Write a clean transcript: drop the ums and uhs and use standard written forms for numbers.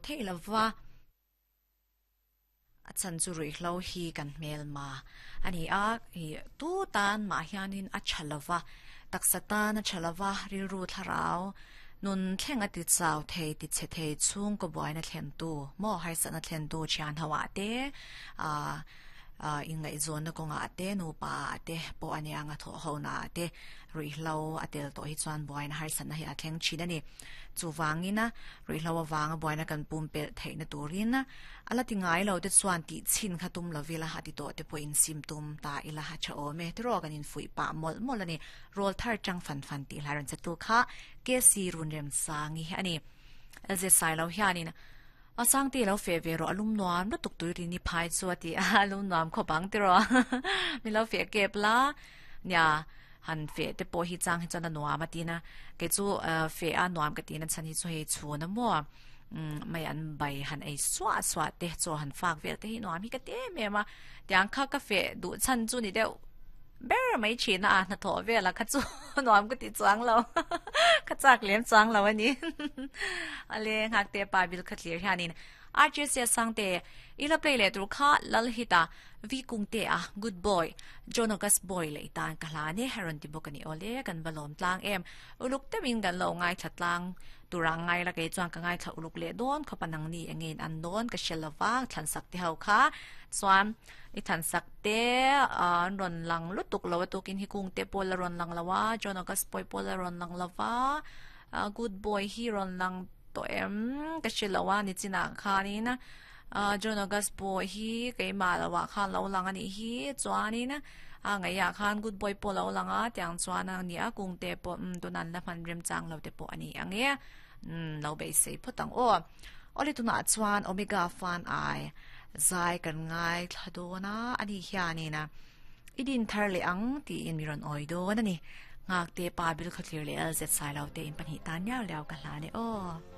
thei lova. A chhan chu ruihhlo hi kan hmelma a ni a, ih tu tan mah hianin a tha lova, taksa tan a tha lova, rilru thlarau nun thleng a ti chau thei ti chhe thei chhungkaw buaina thlentu maw harsatna thlentu thian ho ah te ah ah inngaihzawnna kawngah te nupa ah te pawh a nia nga thawh ho na ah te ruihhlo a tel tawh hi chuan buaina harsatna hi a thleng thin a ni. Chuvangin ruihhlo avanga buaina kan pumpelh theihna turin a la ti ngai lo te chuan tih chhin kha tum lo ila a ti tawh te pawhin sim tum ta ila a tha awm e. Tiraw kan infuih pah mawlh mawlh a ni. Rawl thar chang fan fan tih hlai rawn che tu kha KC Runremsangi a ni. LZ Sailo hianin A Sangte lo feh ve rawh a lum nuam lutuk tui rin i phai chu a ti a, a lum nuam khawp ang tiraw min lo feh kep la nia han feh te pawh hi chang hi chuan a nuam a tina kei chu feh a nuam ka tina chhan hi chu hei chhun a maw mai an bai han ei suah suah te chaw han fak vel te hi nuam hi ka ti em em a tiang kha ka feh duh chhan chu ni deuh ber mai thin a hnathawh vel a kha chu nuam ka ti chuang lo ka chak lem chuang lo a ni ale nghak te pa bil kha thlir hianin RJC Sangte ila play leh tur kha Lalhita Vi Kungte a good boy John August boy leh tan ka hla ne rawn ti bawk a ni awle kan va lawm tlang em uluk deuhin kan lo ngaithla tlang tura ngai la kei chuan ka ngaithla uluk leh dawn khawp a nangni engin an dawn ka hre lova thlansak te ho kha chuan i thlansak te an rawn lang lutuk lo a tukin hi Kungte pawh la rawn lang lo a John August boy pawh la rawn lang lova good boy hi rawn lang tawh em ka hre lo a nichinah khanin ah John August pawh hi keimah lo ah khan lo lang a nih hi chuanin a ngaihah khan good boy pawh lo lang a tiang chuan a ni a kungte pawh umm tunah an la hman remchang lo te pawh a ni ang e umm lo beisei phawt ang aw awle tunah chuan Omega fan ai zai kan ngaithla dawn a ani hianin I din thar leh ang tiin mi rawn awi dawn a ni. Nghakte pa bil khawthlir leh LZ Sailo te in pahnih tan liau liau ka hlan e aw.